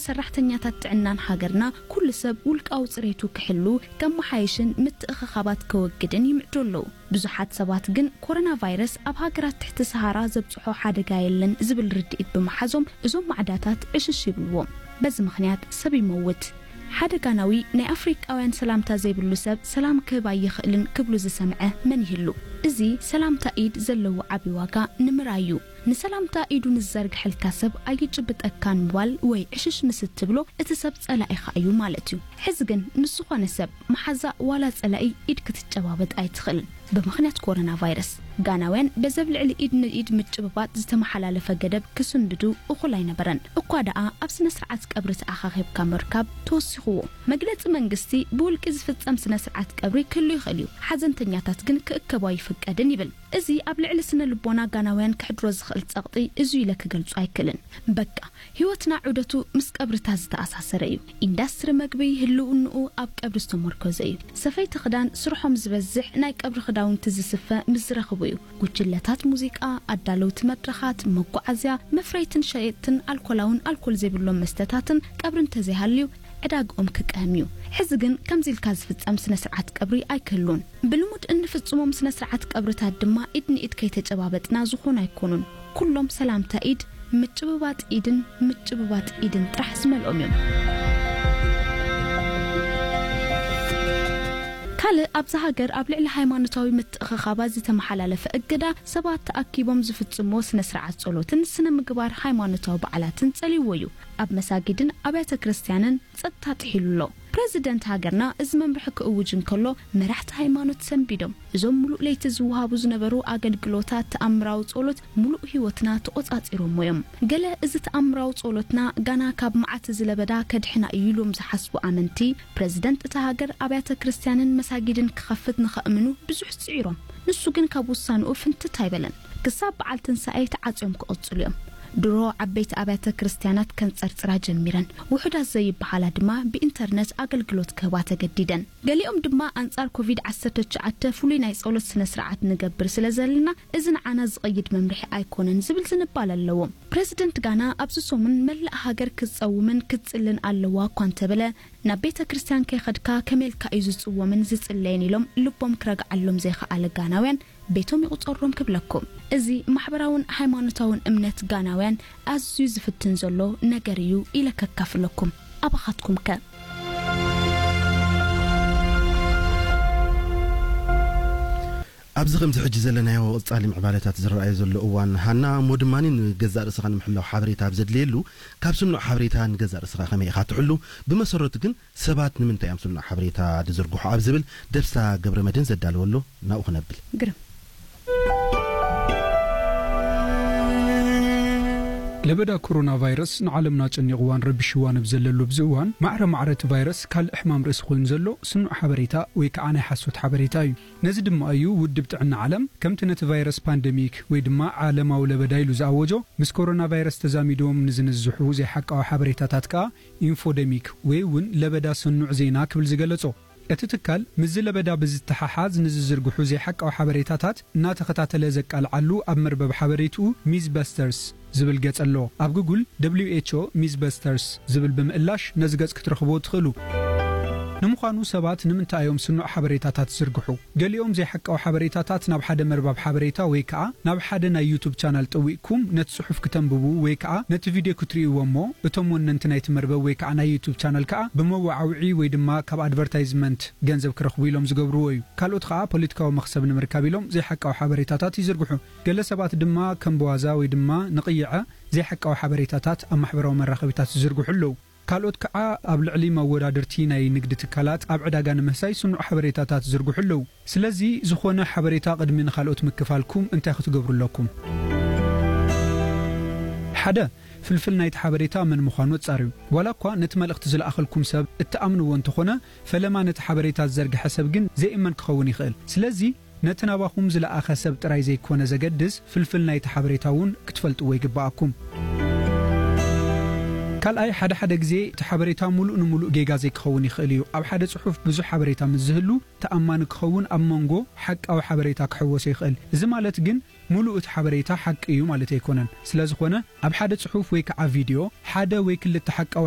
ሰራሕተኛታት ጥዕናን ሃገርና ኩሉ ሰብ ውልቃዊ ጽሬቱ ክሕሉ፣ ከመሓይሽን ምትእኽኻባት ከወግድን ይምዕዱ ኣለዉ። ብዙሓት ሰባት ግን ኮሮና ቫይረስ ኣብ ሃገራት ትሕቲ ሰሃራ ዘብጽሖ ሓደጋ የለን ዝብል ርድኢት ብምሓዞም እዞም ማዕዳታት ዕሽሽ ይብልዎም። በዚ ምኽንያት ሰብ ይመውት። ሓደ ጋናዊ ናይ ኣፍሪቃውያን ሰላምታ ዘይብሉ ሰብ ሰላም ክህብ ኣይኽእልን ክብሉ ዝሰምዐ መን ይህሉ? እዚ ሰላምታ ኢድ ዘለዎ ዓቢ ዋጋ ንምርኣይ እዩ። ንሰላምታ ኢዱ ንዘርግሐልካ ሰብ ኣይጭብጠካን ምባል ወይ ዕሽሽ ምስ እትብሎ እቲ ሰብ ጸላኢኻ እዩ ማለት እዩ። ሕዚ ግን ምስ ዝኾነ ሰብ መሓዛ ዋላ ጸላኢ ኢድ ክትጨባበጥ ኣይትኽእልን። ብምኽንያት ኮሮና ቫይረስ ጋናውያን በዘብ ልዕሊ ኢድ ንኢድ ምጭብባጥ ዝተመሓላለፈ ገደብ ክስንድዱ እኹል ኣይነበረን። እኳ ደኣ ኣብ ስነ ስርዓት ቀብሪ ተኣኻኺብካ ምርካብ ተወሲኽዎ። መግለጺ መንግስቲ ብውልቂ ዝፍጸም ስነ ስርዓት ቀብሪ ክህሉ ይኽእል እዩ፣ ሓዘንተኛታት ግን ክእከቡ ኣይፍቀድን ይብል። እዚ ኣብ ልዕሊ ስነ ልቦና ጋናውያን ከሕድሮ ዝኽእል ጸቕጢ እዚ ኢለ ክገልጾ ኣይክእልን። በቃ ህይወትና ዑደቱ ምስ ቀብርታት ዝተኣሳሰረ እዩ። ኢንዳስትሪ መግቢ ህልውንኡ ኣብ ቀብሪ ዝተመርኮዘ እዩ። ሰፈይቲ ክዳን ስርሖም ዝበዝሕ ናይ ቀብሪ ክዳውንቲ ዝስፈ ምስ ዝረኽቡ እዩ። ጉጅለታት ሙዚቃ፣ ኣዳለውቲ መድረኻት፣ መጓዓዝያ፣ መፍረይትን ሸየጥትን ኣልኮላውን ኣልኮል ዘይብሎም መስተታትን ቀብሪ እንተዘይሃልዩ ዕዳግኦም ክቀህም እዩ። ሕዚ ግን ከምዚ ኢልካ ዝፍጸም ስነ ስርዓት ቀብሪ ኣይክህሉን። ብልሙድ እንፍጽሞም ስነ ስርዓት ቀብርታት ድማ ኢድ ንኢድ ከይተጨባበጥና ዝኾኑ ኣይኮኑን። ኩሎም ሰላምታ ኢድ፣ ምጭብባጥ ኢድን ምጭብባጥ ኢድን ጥራሕ ዝመልኦም እዮም። ካልእ ኣብዛ ሃገር ኣብ ልዕሊ ሃይማኖታዊ ምትእኽኻባት ዝተመሓላለፈ እገዳ፣ ሰባት ተኣኪቦም ዝፍጽምዎ ስነ ስርዓት ጸሎትን ስነ ምግባር ሃይማኖታዊ በዓላትን ጸልይዎ እዩ። ኣብ መሳጊድን ኣብያተ ክርስቲያንን ጸጥታ ጥሒሉ ኣሎ። ፕረዚደንት ሃገርና እዚ መምርሒ ክእውጅ እንከሎ፣ መራሕቲ ሃይማኖት ሰንቢዶም። እዞም ሙሉእ ለይቲ ዝወሃቡ ዝነበሩ ኣገልግሎታት ተኣምራዊ ጸሎት ሙሉእ ህይወትና ተቖጻጺሮሞ እዮም። ገለ እዚ ተኣምራዊ ጸሎትና ጋና ካብ መዓት እዚ ለበዳ ከድሕና እዩ ኢሎም ዝሓስቡ ኣመንቲ፣ ፕረዚደንት እታ ሃገር ኣብያተ ክርስቲያንን መሳጊድን ክኸፍት ንኸእምኑ ብዙሕ ጽዒሮም። ንሱ ግን ካብ ውሳንኡ ፍንትት ኣይበለን። ክሳብ በዓል ትንሳኤ ተዓጽዮም ክቕጽሉ እዮም። ድሮ ዓበይቲ ኣብያተ ክርስቲያናት ከንጸርጽራ ጀሚረን፣ ውሑዳት ዘይበሃላ ድማ ብኢንተርነት ኣገልግሎት ክህባ ተገዲደን። ገሊኦም ድማ ኣንጻር ኮቪድ ዓሰርተ ትሽዓተ ፍሉይ ናይ ጸሎት ስነ ስርዓት ንገብር ስለ ዘለና፣ እዚ ንዓና ዝቕይድ መምርሒ ኣይኮነን ዝብል ዝንባለ ኣለዎም። ፕረዚደንት ጋና ኣብዚ ሰሙን መላእ ሃገር ክትጸውምን ክትጽልን ኣለዋ እኳ እንተበለ፣ ናብ ቤተ ክርስቲያን ከይኸድካ ከመይ ኢልካ እዩ ዝጽወምን ዝጽለይን ኢሎም ልቦም ክረግዓሎም ዘይኸኣለ ጋናውያን ቤቶም ይቑጸሮም ክብለኩም። እዚ ማሕበራውን ሃይማኖታውን እምነት ጋናውያን ኣዝዩ ዝፍትን ዘሎ ነገር እዩ ኢለ ከካፍለኩም። ኣባኻትኩም ከ? ኣብዚ ከምዚ ሕጂ ዘለናዮ ቀጻሊ ምዕባለታት ዝረኣዮ ዘሎ እዋን፣ ሃና፣ እሞ ድማ ንገዛእ ርእስኻ ንምሕላው ሓበሬታ ኣብ ዘድልየሉ፣ ካብ ስኑዕ ሓበሬታ ንገዛእ ርእስኻ ከመይ ኢኻ ትሕሉ? ብመሰረቱ ግን ሰባት ንምንታይ እዮም ስኑዕ ሓበሬታ ዝዝርግሑ ኣብ ዝብል ደብሳ ገብረመድህን ዘዳለወ ኣሎ፣ ናብኡ ክነብል። ግርም። ለበዳ ኮሮና ቫይረስ ንዓለምና ጨኒቕዋን ረቢሽዋን ኣብ ዘለሉ ኣብዚ እዋን፣ ማዕረ ማዕረ እቲ ቫይረስ ካልእ ሕማም ርእሲ ኮይኑ ዘሎ ስኑዕ ሓበሬታ ወይ ከዓ ናይ ሓሶት ሓበሬታ እዩ። ነዚ ድማ እዩ ውድብ ጥዕና ዓለም ከምቲ ነቲ ቫይረስ ፓንደሚክ ወይ ድማ ዓለማዊ ለበዳ ኢሉ ዝኣወጆ፣ ምስ ኮሮና ቫይረስ ተዛሚዶም ንዝንዝሑ ዘይሓቃዊ ሓበሬታታት ከኣ ኢንፎደሚክ ወይ እውን ለበዳ ስኑዕ ዜና ክብል ዝገለጾ። እቲ ትካል ምስዚ ለበዳ ብዝተሓሓዝ ንዝዝርግሑ ዘይሓቃዊ ሓበሬታታት እናተኸታተለ ዘቃልዓሉ ኣብ መርበብ ሓበሬትኡ ሚዝበስተርስ ዝብል ገጽ ኣሎ። ኣብ ጉግል ደብሊው ኤች ኦ ሚዝበስተርስ ዝብል ብምእላሽ ነዚ ገጽ ክትረኽብዎ ትኽእሉ። ንምዃኑ ሰባት ንምንታይ እዮም ስኑዕ ሓበሬታታት ዝዝርግሑ? ገሊኦም ዘይሓቃዊ ሓበሬታታት ናብ ሓደ መርበብ ሓበሬታ ወይ ከኣ ናብ ሓደ ናይ ዩቱብ ቻናል ጠዊቕኩም ነቲ ጽሑፍ ክተንብቡ ወይ ከኣ ነቲ ቪድዮ ክትርእይዎ እሞ እቶም ወነንቲ ናይቲ መርበብ ወይ ከኣ ናይ ዩቱብ ቻናል ከኣ ብመወዓውዒ ወይ ድማ ካብ ኣድቨርታይዝመንት ገንዘብ ክረኽቡ ኢሎም ዝገብርዎ እዩ። ካልኦት ከኣ ፖለቲካዊ መኽሰብ ንምርካብ ኢሎም ዘይሓቃዊ ሓበሬታታት ይዝርግሑ። ገለ ሰባት ድማ ከም ብዋዛ ወይ ድማ ንቕይዐ ዘይሓቃዊ ሓበሬታታት ኣብ ማሕበራዊ መራኸቢታት ይዝርግሑ ኣለዉ። ካልኦት ከኣ ኣብ ልዕሊ መወዳድርቲ ናይ ንግዲ ትካላት ኣብ ዕዳጋ ንምህሳይ ስኑዕ ሓበሬታታት ይዝርግሑ ኣለዉ። ስለዚ ዝኾነ ሓበሬታ ቅድሚ ንኻልኦት ምክፋልኩም እንታይ ክትገብሩ ኣለኩም? ሓደ፣ ፍልፍል ናይቲ ሓበሬታ መን ምዃኑ ኣጻርዩ። ዋላ እኳ ነቲ መልእኽቲ ዝለኣኸልኩም ሰብ እትኣምንዎ እንተኾነ፣ ፈለማ ነቲ ሓበሬታ ዝዘርግሐ ሰብ ግን ዘይእመን ክኸውን ይኽእል። ስለዚ ነቲ ናባኹም ዝለኣኸ ሰብ ጥራይ ዘይኮነ ዘገድስ፣ ፍልፍል ናይቲ ሓበሬታ እውን ክትፈልጥዎ ይግብኣኩም። ካልኣይ፣ ሓደ ሓደ ግዜ እቲ ሓበሬታ ሙሉእ ንሙሉእ ጌጋ ዘይክኸውን ይኽእል እዩ። ኣብ ሓደ ጽሑፍ ብዙሕ ሓበሬታ ምስ ዝህሉ፣ ተኣማኒ ክኸውን ኣብ መንጎ ሓቃዊ ሓበሬታ ክሕወሶ ይኽእል። እዚ ማለት ግን ሙሉእ እቲ ሓበሬታ ሓቂ እዩ ማለት ኣይኮነን። ስለ ዝኾነ፣ ኣብ ሓደ ጽሑፍ ወይ ከዓ ቪድዮ፣ ሓደ ወይ ክልተ ሓቃዊ